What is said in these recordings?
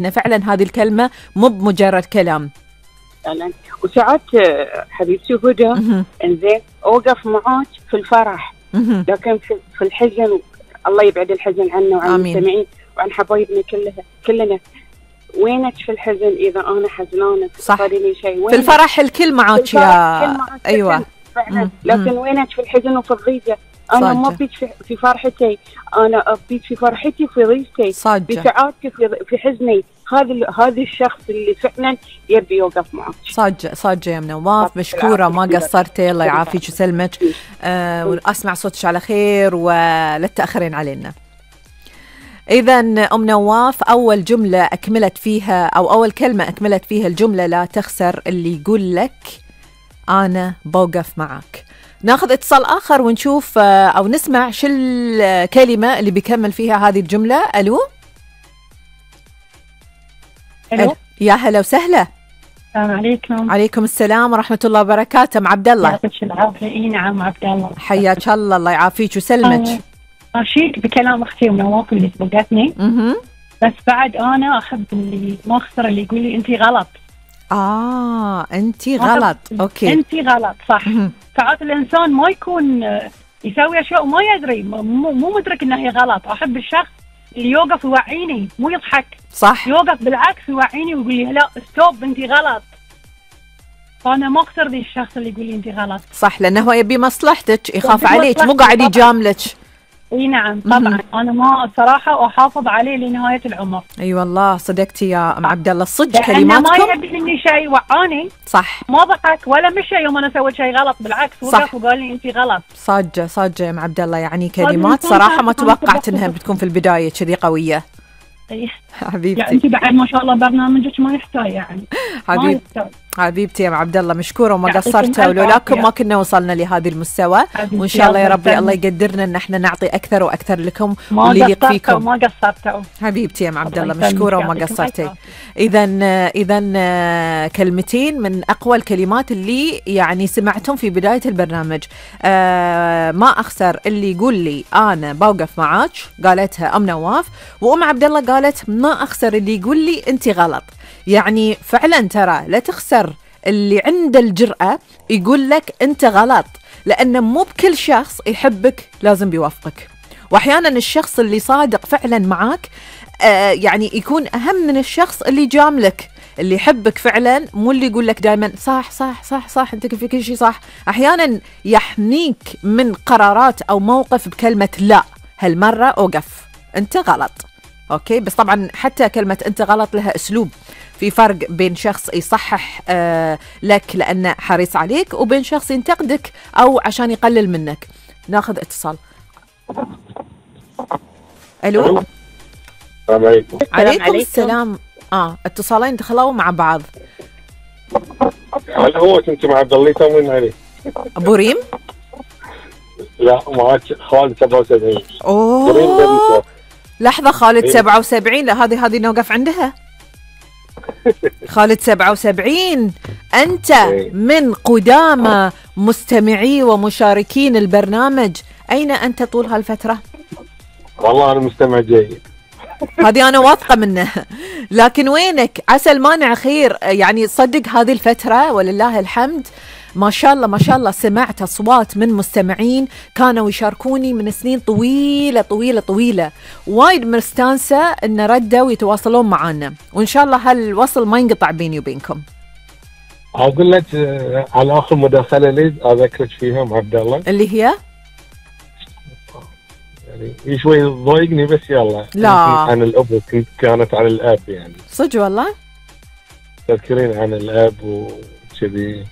إن فعلا هذه الكلمة مو بمجرد كلام. فعلا. وساعات حبيبتي هدى انزين اوقف معاك في الفرح، لكن في الحزن الله يبعد الحزن عنا وعن المستمعين وعن حبايبنا كلنا. وينك في الحزن اذا انا حزنانه؟ صح. لي شيء في الفرح الكل معاك يا ايوه فعلا. لكن وينك في الحزن وفي الضيقه؟ انا ما ابيك في فرحتي، انا ابيك في فرحتي في ضيقتي، في سعادتي في حزني. هذا الشخص اللي فعلا يبي يوقف معك. صاجة يا ام نواف، مشكورة ما قصرتي، الله يعافيك ويسلمك. واسمع صوتك على خير ولا تأخرين علينا. إذا أم نواف أول جملة أكملت فيها أو أول كلمة أكملت فيها الجملة لا تخسر اللي يقول لك أنا بوقف معك. ناخذ اتصال آخر ونشوف أو نسمع شو الكلمة اللي بيكمل فيها هذه الجملة. ألو. يا هلا وسهلا. السلام عليكم. عليكم السلام ورحمة الله وبركاته. مع عبد الله. يعطيك العافية. نعم عبد الله. حياك الله، الله يعافيك وسلمك. أشيك بكلام أختي ونواف اللي سبقتني. بس بعد أنا أحب اللي ما أخسر اللي يقول لي أنتي غلط. أنتي غلط. أوكي. أنتي غلط صح. ساعات الإنسان ما يكون يسوي أشياء وما يدري، مو مدرك إنها هي غلط. أحب الشخص اللي يوقف يوعيني، مو يضحك. صح. يوقف بالعكس يوعيني ويقول لي لا ستوب أنتي غلط. فأنا ما أخسر ذي الشخص اللي يقول لي أنتي غلط. صح، لأنه هو يبي مصلحتك، يخاف عليك، مو قاعد يجاملك. اي نعم طبعا. انا ما صراحه احافظ عليه لنهايه العمر. اي والله صدقتي يا ام عبد الله، صدق كلماتكم. ما يبي مني شيء، وعاني. صح. ما ضحك ولا مشى يوم انا سويت شيء غلط، بالعكس وقف وقال لي انت غلط. صاجه يا ام عبد الله، يعني كلمات صراحه ما توقعت انها بتكون في البدايه كذي قويه. حبيبتي يعني انت بعد ما شاء الله برنامجك ما يحتاج يعني. حبيبتي يا ام عبد الله، مشكوره وما قصرتوا، ولولاكم ما كنا وصلنا لهذا المستوى. وان شاء الله يا ربي الله يقدرنا ان احنا نعطي اكثر واكثر لكم واللي يليق فيكم. ما قصرتوا حبيبتي يا ام عبد الله، مشكوره وما قصرتي. اذا كلمتين من اقوى الكلمات اللي يعني سمعتهم في بدايه البرنامج. ما اخسر اللي يقول لي انا بوقف معاك، قالتها ام نواف، وام عبد الله قالت ما اخسر اللي يقول لي انت غلط. يعني فعلا ترى لا تخسر اللي عنده الجرأة يقول لك أنت غلط، لأن مو بكل شخص يحبك لازم بيوافقك. وأحيانا الشخص اللي صادق فعلا معاك يعني يكون أهم من الشخص اللي جاملك. اللي يحبك فعلا مو اللي يقول لك دائما صح صح صح صح أنت في كل شيء صح. أحيانا يحميك من قرارات أو موقف بكلمة لا، هالمرة أوقف أنت غلط. أوكي، بس طبعا حتى كلمة أنت غلط لها أسلوب. في فرق بين شخص يصحح لك لأنه حريص عليك، وبين شخص ينتقدك أو عشان يقلل منك. ناخذ اتصال. ألو. السلام عليكم. عليكم السلام. اتصالين دخلوا مع بعض. هل هو كنت مع عبد الله يسوين عليه؟ أبو ريم؟ لا معك خالد 77. أوه لحظة، خالد 77. لا هذه نوقف عندها. خالد 77 أنت من قدامى مستمعي ومشاركين البرنامج، أين أنت طول هالفترة؟ والله أنا مستمع جيد. هذه أنا واثقة منه، لكن وينك؟ عسى المانع خير. يعني صدق هذه الفترة ولله الحمد ما شاء الله ما شاء الله سمعت أصوات من مستمعين كانوا يشاركوني من سنين طويلة طويلة طويلة. وايد مستانسة إن ردوا ويتواصلون معنا، وإن شاء الله هالوصل ما ينقطع بيني وبينكم. أقول لك على آخر مداخلة لي أذكرك فيها مع عبد الله، اللي هي يعني شوي ضايقني بس يلا. لا عن الأب، كانت عن الأب يعني. صدق والله؟ تذكرين عن الأب وكذي.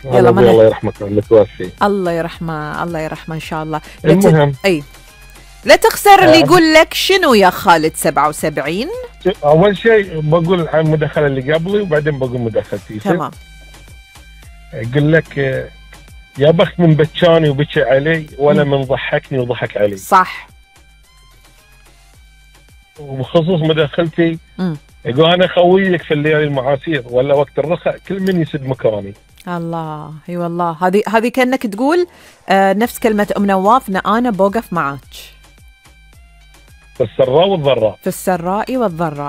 يلا الله يرحمك المتوفي. الله يرحمه الله يرحمه ان شاء الله. المهم لا تخسر اللي يقول لك شنو يا خالد 77. اول شيء بقول عن المداخله اللي قبلي وبعدين بقول مداخلتي. تمام. يقول لك يا بخت من بكاني وبكى علي ولا من ضحكني وضحك علي. صح. وبخصوص مداخلتي يقول انا خويك في الليالي المعاسير ولا وقت الرخاء كل من يسد مكاني. الله اي والله، هذه كأنك تقول نفس كلمة ام نواف، انا بوقف معاك. في السراء والضراء. في السراء والضراء.